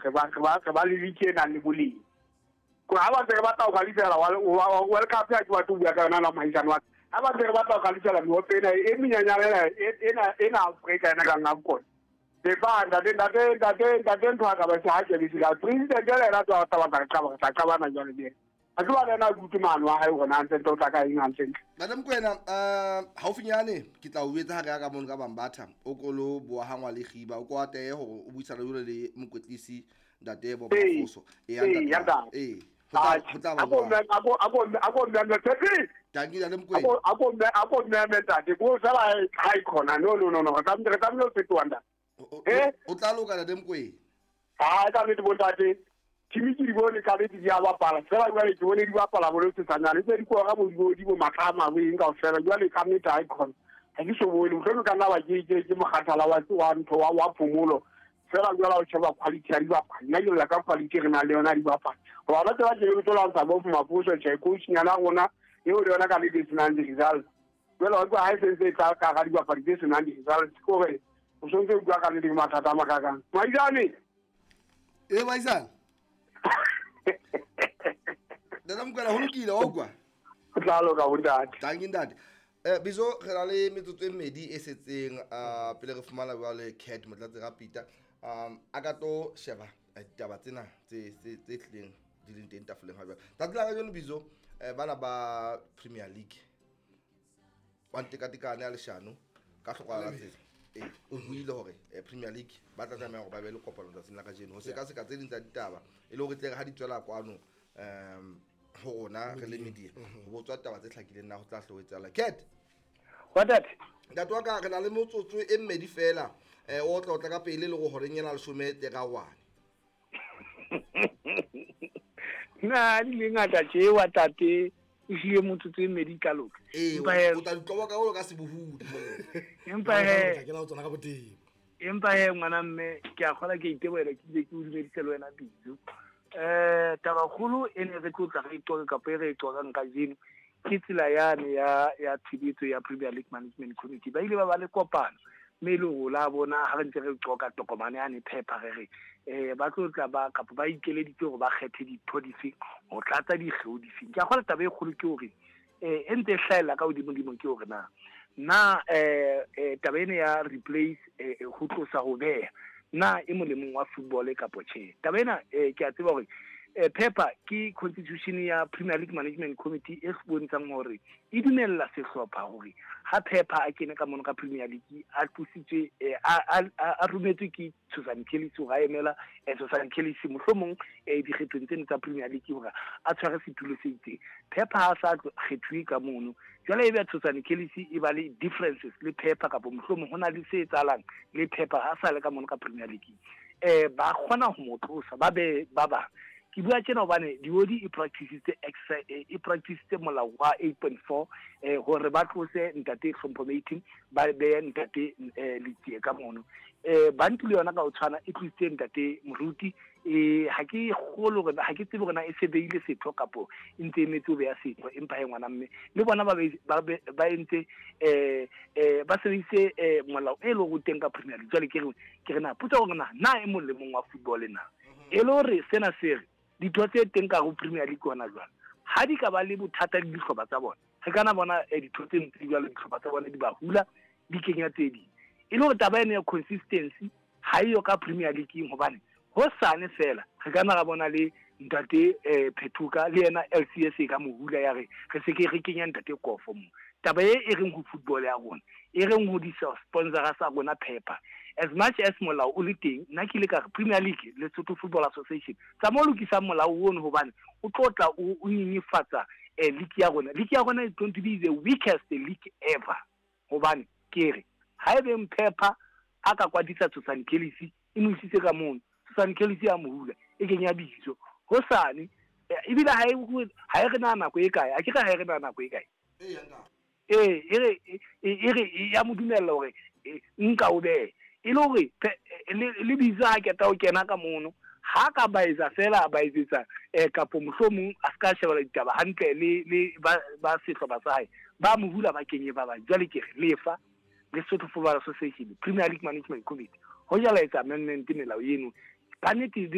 re ba re ba re ba le league e nang le boleng. Ko ha ba ntse re batla ho qualify-ela World Cup, ha ke batle ho bua ka yona la mohaisane wa ka. Ha ba ntse re batla ho qualify-ela mehope ena e menyenyane ena ena Afrika ena kang AFCON. Lefa ntate ntate ntate ntate ntho a ka ba se ha ke bese ka president le yena tla tla batla re qaba re tla qabana jwale le yena. Ha ke ba le yena a ke utlwe maano a hae hore na hantle ntle o tla ka eng hantle ntle. Ntate Mokoena, haufinyane ke tla o etsa ha re ya ka mono ka Bambatha, o ko lo boahangwa le Khiba, o ko atehe hore o buisana jwale le mokwetlisi ntate Bob Mafoso. Ee, Ee, ntate. Ntate. Ee, ho tla ba Ako jwalo. ako ako mme Patrick. Tanki ntate Mokoena. Ako ako mme ako mme ntate. Ko sala ha e khona. No no no no. Re tlamehile ho fetoha ntate. O tla loka ntate Mokoena. Ha ka nnete bo ntate. Team ke di bone ka nnete di a bapala. Fela jwale ke bone di bapala bo le sesanyane. Tse di kora bo di bo matlama bo eng kaofela. Jwale ka nnete ha e khona. Ha ke so bone. Mohlomong ka nna ba ke mokgathala wa ntho wa phomolo. Fela jwale ha o sheba quality ya dibapadi. Nna ke lla ka quality re nang le yona ya dibapadi. Hoba ba tseba ke tlo lwantsha bo Mafoso tjhe, coach nyana rona eo le yona ka nnete e senang di-results. Jwale wa utlwa ha e sentse e tla ka hara dibapadi tse senang di-results, ke hore o sontse o bua ka nnete ke mathata a makakang. Maizane! Ee, Maizane. Ntate Mokoena, ho lokile, wa utlwa? Ho tla loka bo ntate. Tanki ntate. Bizo re na le metsotso e mmedi e setseng pele re fumana jwale Cat Motlatsi Rapita. A ka tlo sheba ditaba tsena tse tlileng di leng teng tafoleng ha jwale. Tsatsi la kajeno Bizo, bana ba Premier League wa ntekatekane ya leshano ka hloka la tsela. O buile hore Premier League ba tla tlameha hore ba be le kopano tsatsing la kajeno ho sekaseka tse ding tsa ditaba e le hore tle re ha di tswela kwano ho rona re le media ho botswa taba tse hlakileng na ho tla hlo etsahala. Cat. Wa ntate. Ntate wa ka re na le motsotso e mmedi fela o tla otla ka pele le go horeng ena leshome tle ka wane. Na di le ngata tje wa tate o hlile motsotso e mmedi ka loka. Ee, o tla ditloba ka o ka sebohodi. Empa he ke la o tsona ka botebo. Empa he ngwana mme ke a kgola ke itebohela ke ile ke o dumedise le wena Bizo. Taba kgolo e ne re tlo tla re iqoka kapa e re e qoqang kajeno ke tsela yane ya tshebetso ya Premier League Management Committee. Ba ile ba ba le kopano mme e le hore la bona ha re ntse re qoqa tokomane yane phepha re re ba tlo tla ba kapa ba ikeleditse hore ba kgethe ditho difeng ho tlatsa dikgeo difeng. Ke a kgolwa taba e kgolo ke hore e ntse e hlahella ka hodimodimo ke hore na taba ena ya replace ho tlosa ho beha na e molemong wa football kapo tjhe. Taba ena ke a tseba hore phepha ke constitution ya Premier League Management Committee e bontshang hore e dumella sehlopha hore ha phepha a kene ka mono ka Premier League a tlositswe a rometswe ke Susan Kelly hore a emela Susan Kelly mohlomong dikgethong tseno tsa Premier League hore a tshware setulo se itseng. Phepha ha sa kgethuwe ka mono. Jwale ebe Susan Kelly e ba le differences le phepha kapa mohlomong ho na le se etsahalang le phepha ha sa le ka mono ka Premier League. Ba kgona ho mo tlosa ba be ba bang. Ke bua tjena hobane Diodi e practicitse e practicitse molao wa 8.4 hore ba tlose ntate Hlompho Mating ba behe ntate Letsie ka mono. Bantu le yona ka ho tshwana e tlositse ntate Moruti. Ha ke kgolo hore ha ke tsebe hore na e se beile setho kapo e ntse e emetse ho beha setho, empa he ngwana mme le bona ba entse ba sebedisitse molao e leng hore o teng ka Premier League. Jwale ke re na potso hore na e mong le mong wa football na e le hore sena se re ditho tse teng ka ho Premier League hona jwale ha di ka ba le bothata le dihlopha tsa bona re kana bona ditho tse ntse jwale dihlopha tsa bona di ba hula di kenya tse ding e le hore taba ena ya consistency ha eyo ka Premier League hobane hosane fela re kana ra bona le ntate Phethuka le yena LCS e ka mohula ya re re se ke re kenya ntate Kofo mo. Taba e e reng ho football ya rona e reng ho di sponsor sa rona phepha as much as molao o le teng nna ke ile ka re Premier League le Lesotho Football Association tsa mo lokisang molao ono hobane o tlo tla o nyenyefatsa league ya rona. League ya rona is going to be the weakest league ever hobane ke re ha ebe Mphepha a ka kwadisa Susan Kelly e mo isitse ka mono Susan Kelly ya mohula e kenya bitso hosane ebile ha e re na nako e kae a ke re ha e re na nako e kae e re ya mo dumella hore nka o behe e le hore le bitso ha keta o kena ka mono ha ka ba etsa fela ba etsetsa kapo mohlomong a ska shebela ditaba hantle le ba sehlopha sa hae ba mohula ba kenye ba bang. Jwale ke re lefa Lesotho Football Association Premier League Management Committee ho jala etsa amendment melao eno ka nnete.